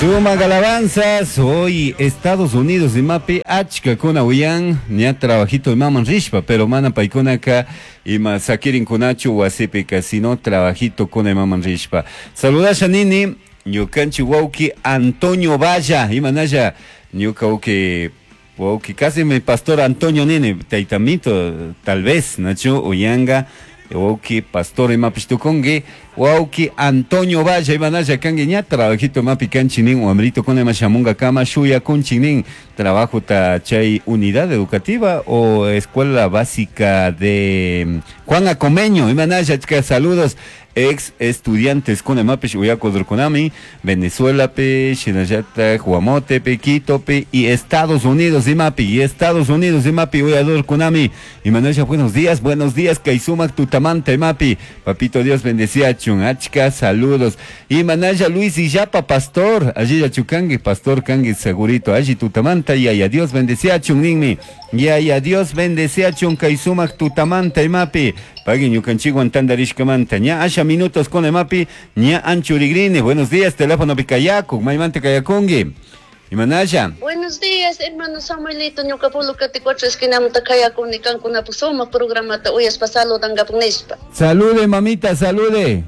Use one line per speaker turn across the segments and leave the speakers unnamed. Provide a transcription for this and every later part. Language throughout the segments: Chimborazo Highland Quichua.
Sumak alabanzas, hoy Estados Unidos imapi achkakuna uyan ña trabajito imaman rishpa, pero mana paykunaka ima sakirinkunachu wasipika, sino trabajito kuna imaman rishpa. Saludasha nini ñukanchik wawki Antonio Valla, imanalla ñuka wawki wawki casi mi pastor Antonio nini, taytamito tal vez, nachu uyanga wawki pastor imapish tukunki, wawki Antonio Valla imanalla kanki ña trabajito imapi kanchik nin wamritukuna ima shamunkakama shuyakunchik nin trabajota chay unidad educativa o escuela básica de Juan Acomeño imanalla achka saludos ex estudiantes kuna imapish uyakudurkunami Venezuelapi shinallatak Guamotepi Quitopi y Estados Unidos imapi y Estados Unidos imapi uyadurkunami imanalla buenos días kay sumak tutamanta imapi papito Dios bendeciachun achka saludos imanalla Luis Illapa pastor allilla chukanki pastor kanki segurito alli tutamanta yaya Dios bendeciachun ninmi yaya Dios bendeciachun kay sumak tutamanta imapi pagui ñukanchikwan tantarishkamanta ña asha minutos con imapi ña anchurigrini buenos días teléfono pikayakuk maymanta kayakunki imanalla.
Buenos días, hermano Samuelito, ñuka Pulucati cuatro esquinamanta kayakuni kankunapuk sumak programata uyashpa saludankapuk nishpa.
Salude mamita, salude.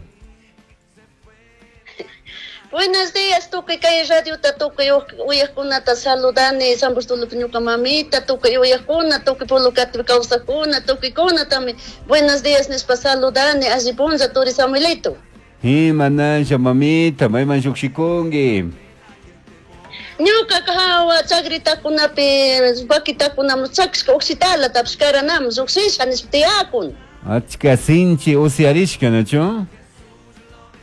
Buenos días, tukuy kay radiota tukuy uyaqkunata saludani, San Bartolopi ñuka mamita, tukuy uyaqkuna, tukuy Pulucatipi kawsaqkuna, tukuykunatami buenos días nishpa saludani, alli punlla turi Samuelito.
Imanalla mamita, mayman llukshikunki.
Ñuka hawa chakritakunapi vaquitakunaman chakishka ukshitalatapish karanaman llukshisha nishpa tiyakun.
Achka sinchi usyarishka, ¿nachu?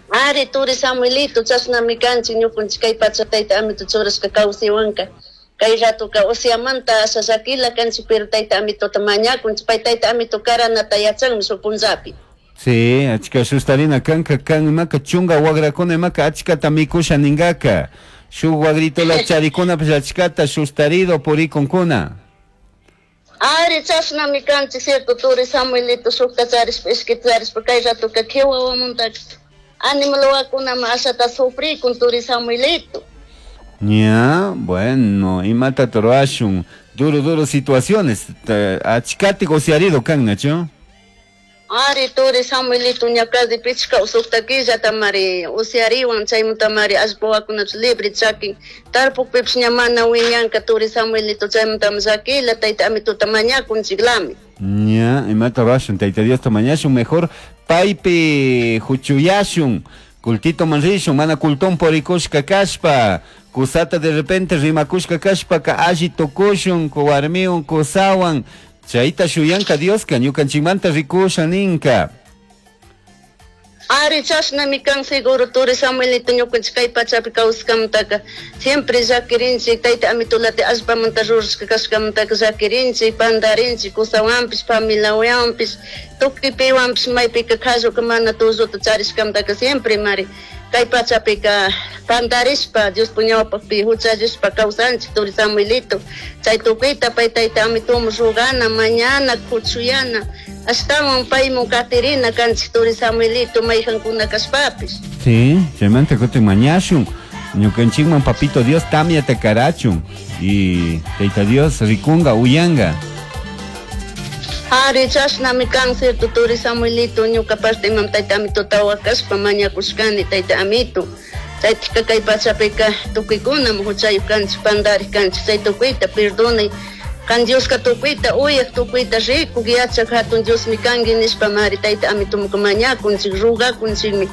Ari turi Samuelito, chashnami kanchik ñukanchik kay pacha tayta amito churashka kawsaywanka. Kay ratuka usyamanta asha llakila kanchik, pero tayta amitota mañakunchik, pay tayta amito karanata yachanmi shuk punllapi.
Sí, achka sustarina kanka kan imaka chunga wagrakuna imaka achkata mikusha ningaka. Shuk wagritola charikunapish achkata sustarido purikunkuna.
Ari chashnami kanchik, cierto turi Samuelito, shukta charishpa, ishkita charishpa, kay ratuka kiwawamunta animal wawakunaman ashata sufrikun turi Samuelito.
Ya, bueno, imata ruwashun, duro, duro situaciones, achkati usyarido kan, ¿nachu?
Ari turi Samuelito, ña casi pichka sukta killatamari usyariwan, chaymantamari allpa wawakunapish libre chakin, tarpukpipish ña mana wiñanka turi Samuelito, chaymantami llakila tayta amituta mañakunchiklami.
Ya, imata ruwashun, tayta Diosta mañashun, mejor paypi huchuyashun, kultito man rishun, mana kultón purikushka kashpa, kusata de repente rimakushka kashpaka alli tukushun, warmiwan kusawan, chayta shuyanka Dioska, ñukanchikmanta rikusha ninka.
Ari chashnami kan seguro turi Samuelito ñukanchik kay pachapi kawskamantaka siempre llakirinchik tayta amitulati allpamanta rurashka kashkamantaka llakirinchik pandarinchik kusawanpish familiawanpish tukuy piwanpish maypika kalluka mana tulluta charishkamantaka siempre mari kay pachapika pandarishpa Diospuk ñawpakpi huchallishpa kawsanchik turi Samuelito chay tukuyta pay tayta amituman rugana mañana kuchuyana ashtawan paymun katirina kanchik turi Samuelito mayjankuna kashpapish.
Sí, chaymanta kutin mañashun ñukanchikman papito Dios tamyata karachun y tayta Dios rikunga uyanga.
Ari chashnami kan cierto turi Samuelito ñuka parte imam tayta amituta wakashpa mañakushkani tayta amito chaytika kay pachapika tukuykunam huchayuq kanchik pandarik kanchik chay tukuyta perdonay kan Dioska tukuyta uyak tukuyta rikuk yachak hatun Diosmi kanki nishpa mari tayta amitumanka mañakunchik rugakunchikmi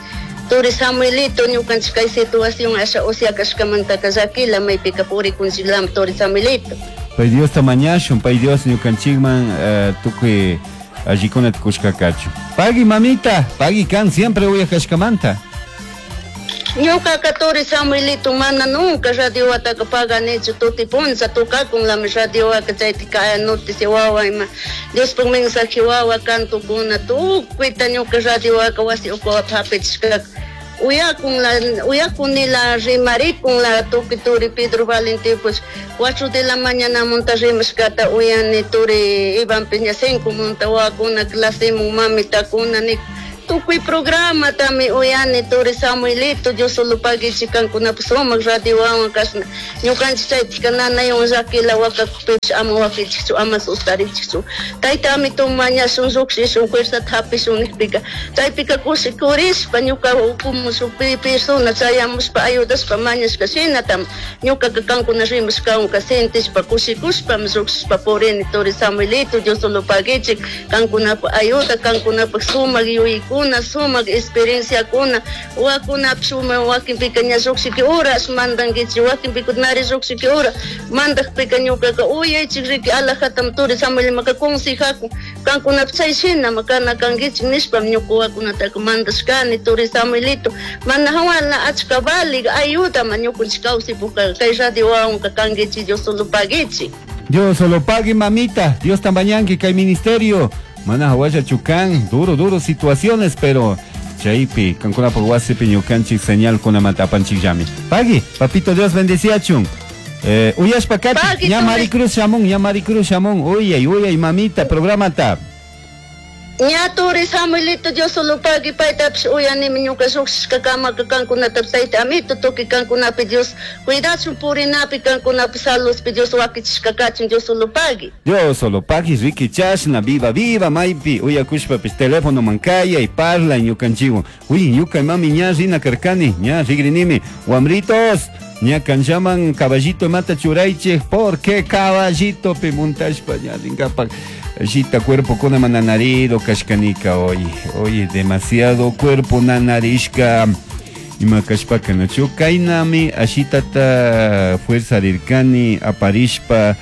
turi Samuelito ñukanchik kay situación asha usya kashkamantaka llakila maypika purikunchiklami turi Samuelito.
Pay Diosta mañashun, pay Dios ñukanchikman tukuy allikunata kushkakachu. Pagui mamita, pagui kan siempre uyak kashkamanta.
Ñukaka turi Samuelito mana nunca radiowataka paganichu tuti puncha tukakunlami radiowaka chaytika noticia wawa ima Diospuk mensaje wawa cantukuna tukuyta ñuka radiowaka wasi ukuwapa hapichishkaka uyakunla uyakunila rimarikunla tukuy turi Pedro Valentín pues 4 de la mañana munta rimashkata uyani turi Iván Peña 5 munta wawakuna clasemun mamitakuna nik Tukuy programatami uyani turi Samuelito, Dios solo paguichik kankunapak sumak radiowawan kashna ñukanchik chaypika nanaywan llakila wakakukpipish ama wakichikchu, ama sustarichikchu. Tayta amito mañashun llukshishun fuerzata hapishun nikpika chaypika kushikurishpa ñuka ukumu shuk persona chayamushpa ayudashpa mañashka shinatam ñukaka kankuna rimashkawanka sentishpa kushikushpami llukshishpa purini turi Samuelito, Dios solo paguichik kankunapak ayuda, kankunapak sumak yuyaykuna, sumak experienciakuna, wakunapish wakinpika ña llukshiki horas mandankichik, wakinpika nari llukshiki hora mandakpika ñukaka uyaychik riki alajatam turi Samuelmaka consejakun kankunapish chay shinama kana kankichik nishpami ñuka wakunataka mandashkani turi Samuelito, mana hawala achka valik ayudama ñukanchik kawsaypukka kay radio wawanka kankichik, Dios solo paguichik.
Dios solo pague, mamita. Dios tambañanqui kay ministerio. Mana hawalla chukan, duro, duro situaciones, pero chaypi, kankunapaq wasipi ñukanchik señal kunamanta apanchik llami. Pagui, papito Dios bendeciachun. Uyashpa kati,
Pagui,
ña
turi.
Maricruz shamun, ña Maricruz shamun. Uyay, uyay, mamita, programata.
Ña turi Samuelito, Dios solo pagui, paytapish uyanimi ñuka llukshishka kamaka kankunatapish tayta amito tukuy kankunapi Dios cuidachun purinapi kankunapi saludpi Dios wakichishka kachun, Dios solo pagui.
Dios solo pagui, Ricky chashna, viva, viva, maypi, uyakushpapish teléfono mankayay, parla ñukanchikwan. Uy, ñuka mami ña rina karkani, ña rigrinimi. Wamritos, ña kanchaman caballito mata churaychik, porque caballito pi muntashpa ña rinkapak. Shita cuerpo kuna mananarido kashkanika, oye, oye, demasiado cuerpo nanarishka. Ima kashpaka nachu kaynami ashitata fuerza rirkani aparishpa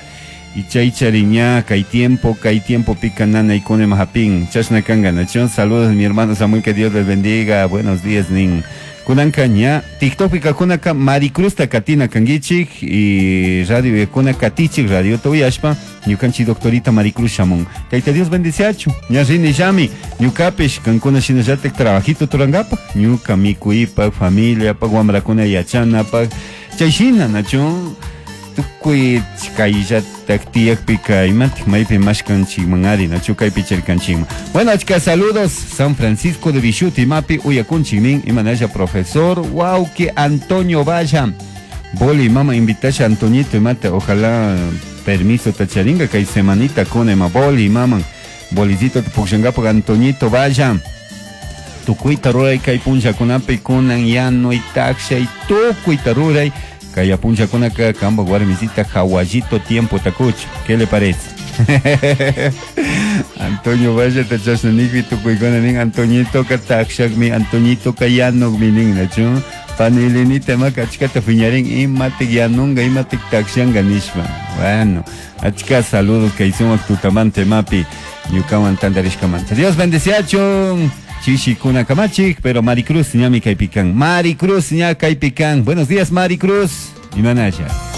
y chay chariña kay tiempo, kay tiempo pica nana y kone mahapin. Chashna kanga nachu. Saludos mi hermano Samuel, que Dios les bendiga. Buenos días nin. Kunanka ña TikTok pika kunaka Maricruz takatina kangichik y radio kuna katichik radio toyashpa ñukanchi doctorita Maricruz shamun. Tayta Dios bendiciachu. Ña rini llami ñukapish kankuna shinallatik trabajito turangapa ñuka mikuipak familia pak wamrakuna yachanapak chayshina nachu tukuy kayllatak tiyakpika imatik maypi mashkanchikman ari nachu kaypi chirkanchikman. Bueno, achka saludos San Francisco de Vishuti mapi uyakunchik nin imanalla profesor wauki Antonio Valla Boli mama invitasha Antoñito imate ojalá permiso tacharinga kay semanita kunema boli mama bolicito pukshangapak Antoñito Valla tukuyta ruray kay punllakunapi kunan yanuy takshay tukuyta ruray kay punllakunaka kampak warmisita hawallito tiempo takuch. ¿Qué le parece? Antonio Valle tachashna nikpi tukuykuna nin Antoñito ka takshakmi Antoñito ka yanukmi nin nachu panilinita imaka achkata piñarin imatik yanunga imatik takshanka nishpa. Bueno, achka saludos kay sumak tutamante mapi ñukawan tantarishkamanta. Dios bendeciachun. Chishi kuna kamachik, pero Maricruz ñami kaypikan. Maricruz ña kaypikan. Buenos días, Maricruz. Imanalla.